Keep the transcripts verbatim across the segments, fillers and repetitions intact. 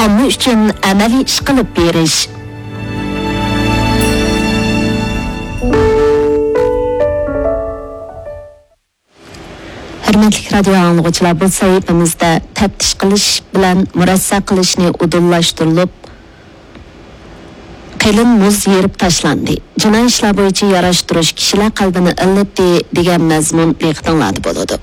ئۈچۈن ئەمەلىي ئىش قىلىپ بېرىش. ھۆرمەتلىك رادىيو ئاڭلىغۇچىلار، بۇ سەھىپىمىزدە تەپتىش قىلىش بىلەن مۇرەسسە قىلىشنى ئۇدۇللاشتۇرۇلۇپ، قېلىن مۇز يېرىپ تاشلاندى. جىنايى ئىشلار بويىچە ياراشتۇرۇش كىشىلەر قەلبىنى ئىللىتتى دېگەن مەزمۇن دىققىتىڭلاردا بولىدۇ.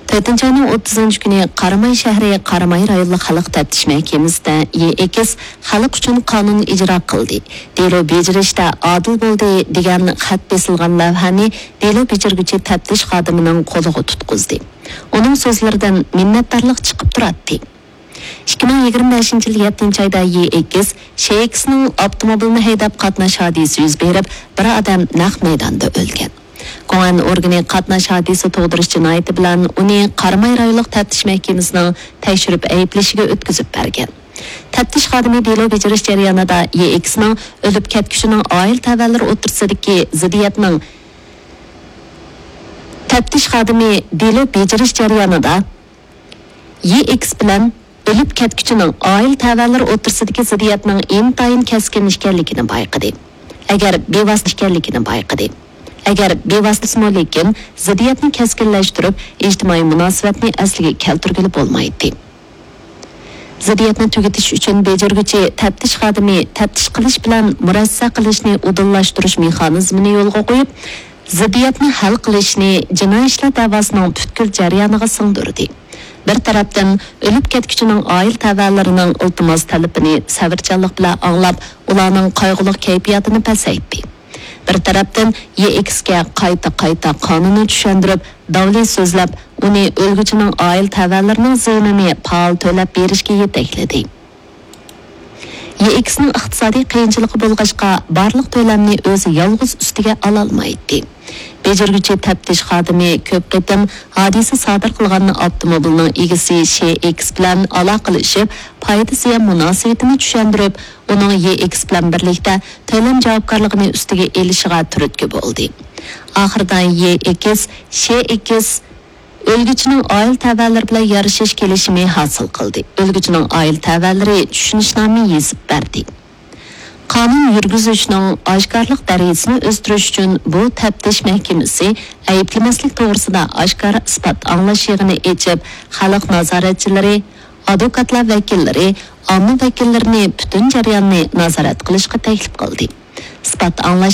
تۆتىنچى ئاينىڭ ئوتتۇزىنچى كۈنى قاراماي شەھىرى قاراماي رايونلۇق خەلق تەپتىش مەھكىمىسىدە يېئېكس خەلق ئۈچۈن قانۇن ئىجرا قىلدى، دېلو بېجىرىشتە ئادىل بولدى دېگەن خەت بېسىلغان لەۋھەنى دېلو بېجىرگۈچى تەپتىش خادىمىنىڭ قولىغا تۇتقۇزدى. ئۇنىڭ سۆزلىرىدىن مىننەتدارلىق چىقىپ تۇراتتى. ئىككى مىڭ يىگىرمە بەشىنچى يىل يەتتىنچى ئايدا يېئېكس شېئېكسنىڭ ئاپتوموبىلىنى ھەيدەپ قاتناش ھادىسىسى يۈز بېرىپ، بىر ئادەم نەق مەيداندا ئۆلگەن. گوڭئەن ئورگىنى قاتناش ھادىسە تۇغدۇرۇش جىنايىتى بىلەن ئۇنى قاراماي رايونلۇق تەپتىش مەھكىمىسىنىڭ تەكشۈرۈپ ئەيىبلىشىگە ئۆتكۈزۈپ بەرگەن. تەپتىش خادىمى دېلو بېجىرىش جەريانىدا يېئېكسنىڭ ئۆلۈپ كەتكۈچىنىڭ ئائىلە تەۋەلىرى ئوتتۇرىسىدىكى زىددىيەتنىڭ تەپتىش خادىمى دېلو بېجىرىش جەريانىدا يېئېكس بىلەن ئۆلۈپ كەتكۈچىنىڭ ئائىلە تەۋەلىرى ئوتتۇرىسىدىكى زىددىيەتنىڭ ئىنتايىن كەسكىن ئىكەنلىكىنى بايقىدى. ئەگەر بىۋاسىتە ئىكەنلىكىنى بايقىدى. ئەگەر بىۋاسىتىسىمۇ، لېكىن زىددىيەتنى كەسكىنلەشتۈرۈپ، ئىجتىمائىي مۇناسىۋەتنى ئەسلىگە كەلتۈرگىلى بولمايتتى. زىددىيەتنى تۈگىتىش ئۈچۈن بېجىرگۈچى تەپتىش خادىمى تەپتىش قىلىش بىلەن مۇرەسسە قىلىشنى ئۇدۇللاشتۇرۇش مېخانىزمىنى يولغا قويۇپ، زىددىيەتنى ھەل قىلىشنى جىنايى ئىشلار دەۋاسىنىڭ پۈتكۈل جەريانىغا سىڭدۈردى. بىر تەرەپتىن، ئۆلۈپ كەتكۈچىنىڭ ئائىلە تەۋەلىرىنىڭ ئىلتىماس تەلىپىنى سەۋرچانلىق بىلەن ئاڭلاپ، ئۇلارنىڭ قايغۇلۇق كەيپىياتىنى پەسەيتتى. بىر تەرەپتىن، يېئېكسكە قايتا-قايتا قانۇننى چۈشەندۈرۈپ، داۋلى سۆزلەپ، ئۇنى ئۆلگۈچىنىڭ ئائىلە تەۋەلىرىنىڭ زىيىنىنى پائال تۆلەپ بېرىشكە يېتەكلىدى. يېئېكسنىڭ ئىقتىسادىي قىيىنچىلىقى بولغاچقا، بارلىق تۆلەمنى ئۆزى يالغۇز ئۈستىگە ئالالمايتتى. بېجىرگۈچى تەپتىش خادىمى كۆپ قېتىم ھادىسە سادىر قىلغان ئاپتوموبىلنىڭ ئىگىسى شېئېكس بىلەن ئالاقىلىشىپ، پايدا زىيان مۇناسىۋىتىنى چۈشەندۈرۈپ، ئۇنىڭ يېئېكس بىلەن بىرلىكتە تۆلەم جاۋابكارلىقىنى ئۈستىگە ئېلىشىغا تۈرتكە بولدى. ئاخىرىدا يېئېكس، شېئېكس ئۆلگۈچىنىڭ ئائىلە تەۋەلىرى بىلەن يارىشىش كېلىشىمى ھاسىل قىلدى. ئۆلگۈچىنىڭ ئائىلە تەۋەلىرى چۈشىنىشنامە يېزىپ بەردى. قانۇن يۈرگۈزۈشنىڭ ئاشكارىلىق دەرىجىسىنى ئۆستۈرۈش ئۈچۈن بۇ تەپتىش مەھكىمىسى ئەيىبلىمەسلىك توغرىسىدا ئاشكارا ئىسپات ئاڭلاش يىغىنى ئېچىپ، خەلق نازارەتچىلىرى، ئادۋوكاتلار ۋەكىللىرى، ئامما ۋەكىللىرىنى پۈتۈن جەرياننى نازارەت قىلىشقا تەكلىپ قىلدى. ئىسپات ئاڭلاش